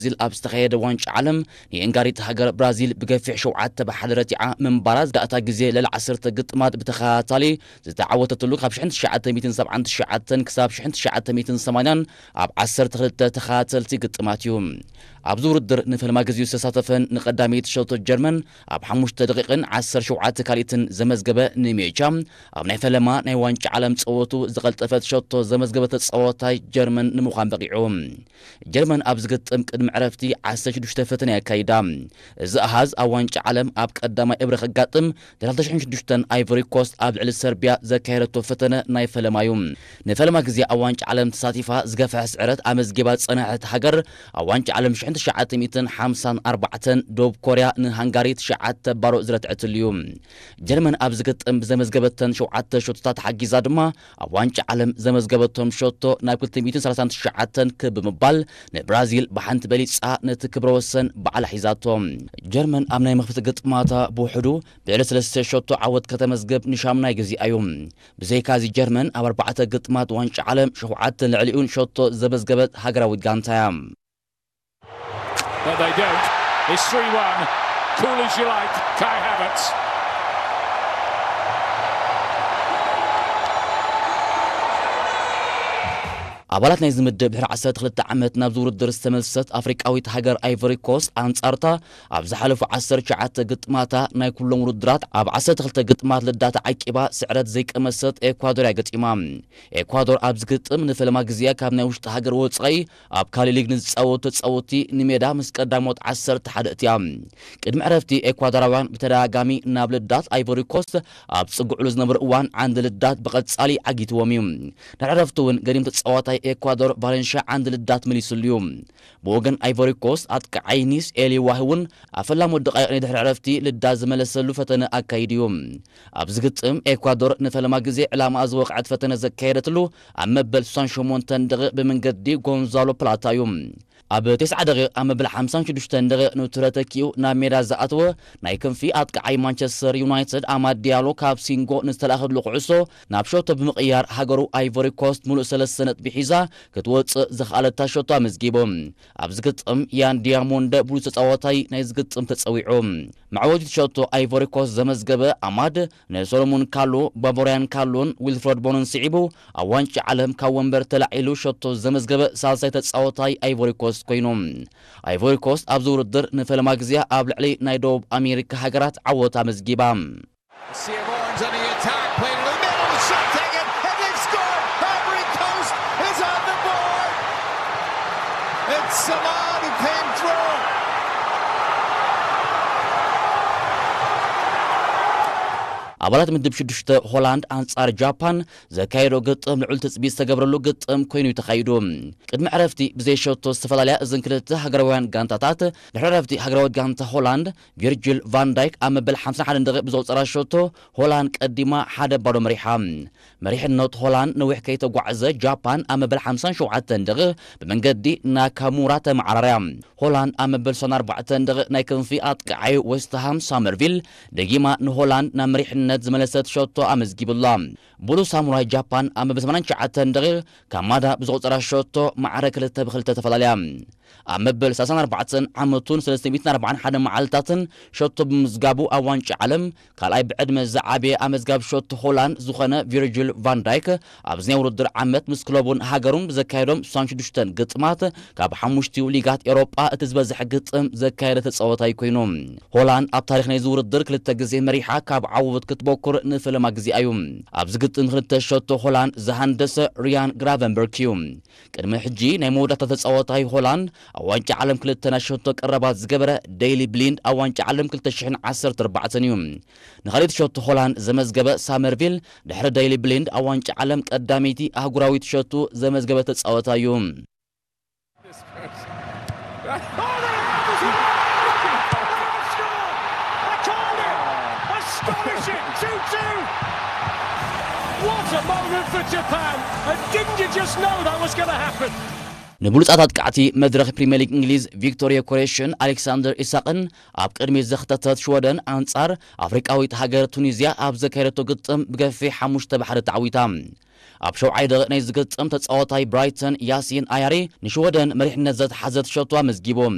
ብራዚል ኣብ ዝተኻየደ ዋንጫ ዓለም ንየንጋሪት ሃገር ብራዚል ብገፊሕ ሸውዓተ ብ ሓደ ረቲዓ ምንባራ ዝዳእታ ግዜ ልዕሊ ዓሰርተ ግጥማት ብተኸታታሊ ዝተዓወተትሉ ካብ ሽሕን ትሽዓተ ሚእትን ሰብዓን ትሽዓተን ክሳብ ሽሕን ትሽዓተ ሚእትን ሰማንያን ኣብ ዓሰርተ ክልተ ተኸታተልቲ ግጥማት እዩ። ኣብዚ ውድድር ንፈልማ ግዜኡ ዝተሳተፈን ንቀዳመይቲ ሸቶ ጀርመን ኣብ ሓሙሽተ ደቂቕን ዓሰርተ ሸውዓተ ካልኢትን ዘመዝገበ ንሜቻ ኣብ ናይ ፈለማ ናይ ዋንጫ ዓለም ጸወቱ ዝቐልጠፈት ሸቶ ዘመዝገበ ተጻዋታይ ጀርመን ንምዃን በቒዑ። ጀርመን ኣብ ዝግጥም ቅድሚ ዕረፍቲ ዓሰርተ ሽዱሽተ ፈተነ ኣካይዳ። እዚ ኣሃዝ ኣብ ዋንጫ ዓለም ኣብ ቀዳማይ እብረ ከጋጥም ድሕሪ ክልተ ሽሕን ሽዱሽተን ኣይቮሪ ኮስት ኣብ ልዕሊ ሰርቢያ ዘካየደቶ ፈተነ ናይ ፈለማ እዩ። ንፈለማ ግዜ ኣብ ዋንጫ ዓለም ተሳቲፋ ዝገፍሐ ስዕረት ኣመዝጊባ ዝጸንሐት ሃገር ኣብ ዋንጫ ዓለም ሽሕን ትሽዓተ ሚእትን ሓምሳን ኣርባዕተን ደቡብ ኮርያ ንሃንጋሪ ትሽዓተ ባዶ ዝረትዐትሉ እዩ። ጀርመን ኣብ ዝግጥም ብዘመዝገበተን ሸውዓተ ሸቶታት ሓጊዛ ድማ ኣብ ዋንጫ ዓለም ዘመዝገበቶም ሸቶ ናብ ክልተ ሚእትን ሰላሳን ትሽዓተን ክብ ብምባል ንብራዚል ብሓንቲ በሊጻ ነቲ ክብረ ወሰን ባዕላ ሒዛቶ። ጀርመን ኣብ ናይ መኽፈቲ ግጥማታ ብውሕዱ ብልዕሊ ሰለስተ ሸቶ ዓወት ከተመዝግብ ንሻምናይ ግዜኣ እዩ። ብዘይካዚ ጀርመን ኣብ ኣርባዕተ ግጥማት ዋንጫ ዓለም ሸውዓተ ልዕሊኡን ሸቶ ዘመዝገበት ሃገራዊት ጋንታ እያ። But they don't. It's three one. Cool as you like, Kai Havertz. ኣባላት ናይዚ ምድብ ድሕሪ ዓሰርተ ክልተ ዓመት ናብዚ ውድድር ዝተመልሰት ኣፍሪቃዊት ሃገር ኣይቮሪ ኮስት ኣንጻርታ ኣብ ዝሓለፉ ዓሰርተ ትሽዓተ ግጥማታ ናይ ኩሎም ውድድራት ኣብ ዓሰርተ ክልተ ግጥማት ልዳት ዓቂባ ስዕረት ዘይቀመሰት ኤኳዶር እያ ገጢማ። ኤኳዶር ኣብ ዝግጥም ንፈለማ ግዜኣ ካብ ናይ ውሽጢ ሃገር ወጻኢ ኣብ ካሊ ሊግ ንዝጻወቱ ተጻወትቲ ንሜዳ ምስ ቀዳሞት ዓሰርተ ሓደ እትያ። ቅድሚ ዕረፍቲ ኤኳዶራውያን ብተደጋጋሚ ናብ ልዳት ኣይቮሪ ኮስት ኣብ ጽግዕሉ ዝነበሩ እዋን ዓንዲ ልዳት ብቐጻሊ ዓጊትዎም እዩ። ድሕሪ ዕረፍቲ እውን ገዲም ተጻዋታይ ኤኳዶር ቫለንሽያ ዓንዲ ልዳት መሊሱሉ እዩ። ብወገን ኣይቮሪ ኮስት ኣጥቃዓይ ኒስ ኤሊ ዋህ እውን ኣብ ፈላሞት ደቃይቕ ናይ ድሕሪ ዕረፍቲ ልዳት ዝመለሰሉ ፈተነ ኣካይዱ እዩ። ኣብዚ ግጥም ኤኳዶር ንፈለማ ግዜ ዕላማኣ ዝወቕዐት ፈተነ ዘካየደትሉ ኣብ መበል ስሳን ሸሞንተን ደቂቕ ብመንገዲ ጎንዛሎ ፕላታ እዩ። ኣብ ተስዓ ደቂቕ ኣብ መበል ሓምሳን ሽዱሽተን ደቂቕ ንቱረ ተኪኡ ናብ ሜዳ ዝኣተወ ናይ ክንፊ ኣጥቃዓይ ማንቸስተር ዩናይትድ ኣማድ ዲያሎ ካብ ሲንጎ ንዝተላእኸሉ ኩዕሶ ናብ ሸቶ ብምቕያር ሃገሩ ኣይቮሪ ኮስት ሙሉእ ሰለስተ ነጥቢ ሒዛ ክትወጽእ ዝኸኣለታ ሸቶ ኣመዝጊቡ። ኣብዚ ግጥም ያን ዲያሞንደ ብሉጽ ተጻዋታይ ናይ ዝግጥም ተጸዊዑ። መዕወቲት ሸቶ ኣይቮሪ ኮስት ዘመዝገበ ኣማድ ንሶሎሞን ካሉ፣ ባቦርያን ካሉን ዊልፍረድ ቦንን ስዒቡ ኣብ ዋንጫ ዓለም ካብ ወንበር ተላዒሉ ሸቶ ዘመዝገበ ሳልሳይ ተጻዋታይ ኣይቮሪ ኮስት ኮይኑ። ኣይቮሪ ኮስት ኣብዚ ውድድር ንፈለማ ግዜኣ ኣብ ልዕሊ ናይ ደቡብ ኣሜሪካ ሃገራት ዓወት ኣመዝጊባ። Seaborn's on the attack, played in the middle, shot taken, and they've scored! Ivory Coast is on the board! It's Samad who came through! ኣባላት ምድብ ሽዱሽተ ሆላንድ ኣንጻር ጃፓን ዘካየዶ ግጥም ልዑል ትጽቢት ዝተገብረሉ ግጥም ኮይኑ እዩ ተኻይዱ። ቅድሚ ዕረፍቲ ብዘይሸቶ ዝተፈላለያ እዘን ክልተ ሃገራውያን ጋንታታት ድሕሪ ዕረፍቲ ሃገራዊት ጋንታ ሆላንድ ቪርጅል ቫን ዳይክ ኣብ መበል ሓምሳን ሓደን ደቂቕ ብዘውጸራ ሸቶ ሆላንድ ቀዲማ ሓደ ባዶ መሪሓ። መሪሕነት ሆላንድ ነዊሕ ከይተጓዕዘ ጃፓን ኣብ መበል ሓምሳን ሸውዓተን ደቂቕ ብመንገዲ ናካሙራ ተመዓራርያ። ሆላንድ ኣብ መበል ስሳን ኣርባዕተን ደቂቕ ናይ ክንፊ ኣጥቃዓይ ዌስትሃም ሳመርቪል ደጊማ ንሆላንድ ናብ መሪሕነት ዝመለሰት ሸቶ ኣመዝጊቡላ። ብሉ ሳሙራይ ጃፓን ኣብ መበል ሰማንያን ትሽዓተን ደቂቕ ካማዳ ብዘቑጸራ ሸቶ ማዕረ ክልተ ብክልተ ተፈላለያ። ኣብ መበል ሰላሳን ኣርባዕተን ዓመቱን ሰለስተ ሚእትን ኣርባዓን ሓደን መዓልታትን ሸቶ ብምዝጋቡ ኣብ ዋንጫ ዓለም ካልኣይ ብዕድመ ዝዓበየ ኣመዝጋቢ ሸቶ ሆላንድ ዝኾነ ቪርጅል ቫን ዳይክ ኣብዚ ናይ ውድድር ዓመት ምስ ክለቡን ሃገሩን ብዘካየዶም ስሳን ሽዱሽተን ግጥማት ካብ ሓሙሽቲኡ ሊጋት ኤሮጳ እቲ ዝበዝሐ ግጥም ዘካየደ ተጻዋታይ ኮይኑ። ሆላንድ ኣብ ታሪኽ ናይዚ ውድድር ክልተ ግዜ መሪሓ ካብ ዓወት ክትበኩር ንፈለማ ግዜኣ እዩ። ኣብዚ ግጥም ክልተ ሸቶ ሆላንድ ዝሃንደሰ ሪያን ግራቨንበርክ እዩ። ቅድሚ ሕጂ ናይ መወዳእታ ተጻዋታይ ሆላንድ ኣብ ዋንጫ ዓለም ክልተ ናይ ሸቶ ቀረባት ዝገበረ ዴይሊ ብሊንድ ኣብ ዋንጫ ዓለም ክልተ ሽሕን ዓሰርተ ኣርባዕተን እዩ። ንኻልእቲ ሸቶ ሆላንድ ዘመዝገበ ሳመርቪል ድሕሪ ዴይሊ ብሊንድ ኣብ ዋንጫ ዓለም ቀዳመይቲ ኣህጉራዊት ሸቶ ዘመዝገበ ተጻዋታይ እዩ። Astonishing! two two! What a moment for Japan! And didn't you just know that was going to happen? ንብሉጻት ኣጥቃዕቲ መድረኽ ፕሪምየር ሊግ እንግሊዝ ቪክቶር ዮከሬሽን ኣሌክሳንደር ኢሳቅን ኣብ ቅድሚት ዘኽተተት ሽወደን ኣንጻር ኣፍሪቃዊት ሃገር ቱኒዝያ ኣብ ዘካየደቶ ግጥም ብገፊሕ ሓሙሽተ ብ ሓደ ተዓዊታ። ኣብ ሸውዓይ ደቂቕ ናይ ዝግጥም ተጻዋታይ ብራይተን ያሲን ኣያሪ ንሽወደን መሪሕነት ዘትሓዘት ሸቶ ኣመዝጊቡ።